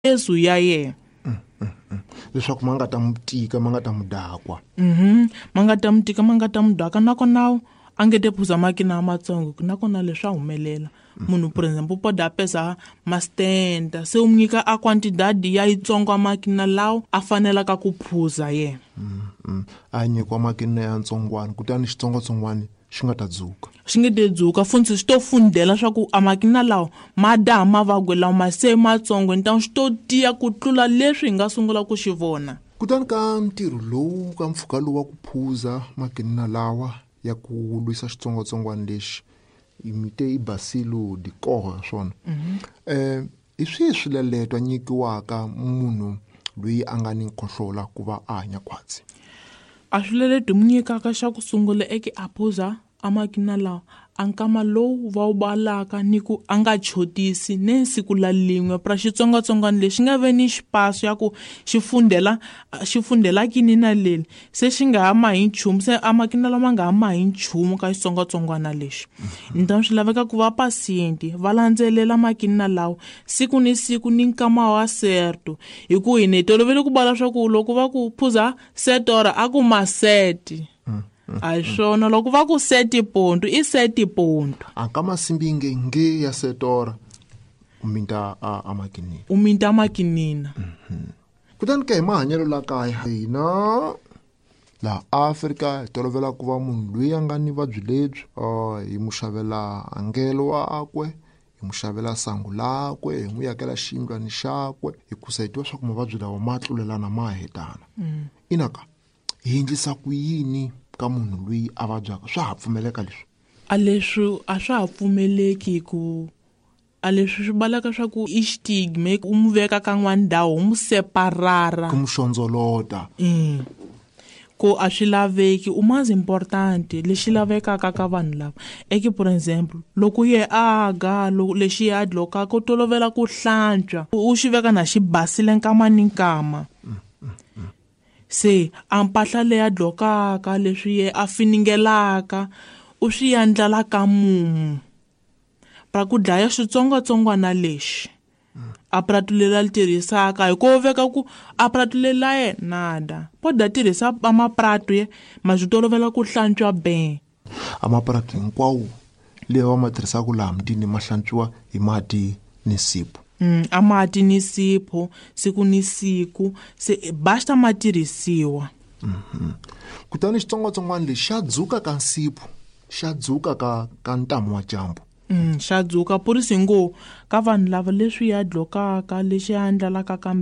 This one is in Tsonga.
Yesu ya yena. Leswaku ma nga ta mu tika, ma nga ta mu dakwa. Ma nga ta mu tika, ma nga ta mu daka, nakona a nge te phuza makina amatsongo, nakona leswi swa humelela. Munhu, por example, poda a pesa mastenda, se u nyika a quantidade ya yitsongo makina lawo a fanelaka ku phuza yena. A nyikiwa makina ya ntsongwana, kutani xitsongwatsongwana xi nga ta dzuka. Xi nge te dzuka, funtsi xi to fundela swa ku a makina lawa ma daha mavabyi lawa ma se matsongo, ntangu xi to tiya ku tlula leswi hi nga sungula ku xi vona. Kutani ka ntirho lowu, ka mpfhuka lowu wa ku phuza makinina lawa ya ku lwisa xitsongwatsongwana lexi, mi te i Bacilo di Koch swona. Hi swihi swileleto a nyikiwaka munhu loyi a nga ni nkhohlola ku va a hanya khwatsi? A swileleto hi mu nyikaka xa ku sungula eke a phuza a makina lawa a nkama lowu va wu balaka ni ku a nga chotisi ne siku la lin'we, pra xitsongwatsongwana lexi nga ve ni xipaso ya ku xi fundela kini na leli, se xi nga ha mahi nchumu, se a makina lama nga ha mahi nchumu ka xitsongwatsongwana lexi. Ntangu swi laveka ku va pasienti va landzelela makina lawa siku ni siku ni nkama wa certo, hi ku hi ni tolovele ku bala swa ku loko va ku phuza setora a ku maseti. A hi swona, loko va ku seti ponto i seti ponto. A ka masimbi nge nge ya setora u minta a makinina. U minta makinina. Kutani ke hi mahanyelo la kaya hina laha Afrika hi tolovela ku va munhu loyi a nga ni vuvabyi lebyi, hi mu xavela angelo wakwe, hi mu xavela sangu lakwe, hi n'wi yakela xiyindlwani xakwe, hikusa hi tiva swa ku mavabyi lawa ma tlulelana ma hetana. Inaka hi endlisa ku yini ka munhu loyi a vabyaka? Swa ha pfumeleka leswi? A leswi a swa ha pfumeleki, ku a leswi swi balaka swa ku i stigma, u mu veka ka n'wana ndhawu, u mu separara. Ku mu xondzolota. Ku a swi laveki, u mas important lexi lavekaka ka vanhu lava. Eke por exemple, loko ye a ga, loko lexi a dlokaka, u tolovela ku hlantswa, u xi veka na xi basile nkama ni nkama. Se a mpahla leyi a dlokaka, leswi ye a finingelaka, u swi endlela ka mumu pra ku dlaya xitsongwatsongwana lexi. A pratu leri a li tirhisaka, hi ku veka ku a pratu leri la yena nada. Poda tirhisa a mapratu ye, ma swi tolovela ku hlantswa ben. A mapratu hinkwawo leyi va ma tirhisaka laha mutini ma hlantswiwa hi mati ni nsipho. A mati ni nsipho siku ni siku, se basta ma tirhisiwa. Kutani xitsongwatsongwana lexi xa dzuka ka nsipho, xa dzuka ka ntamu wa dyambu. Xa dzuka purisi ngo ka vanhu lava leswi ya dlokaka, lexi ya endlalaka ka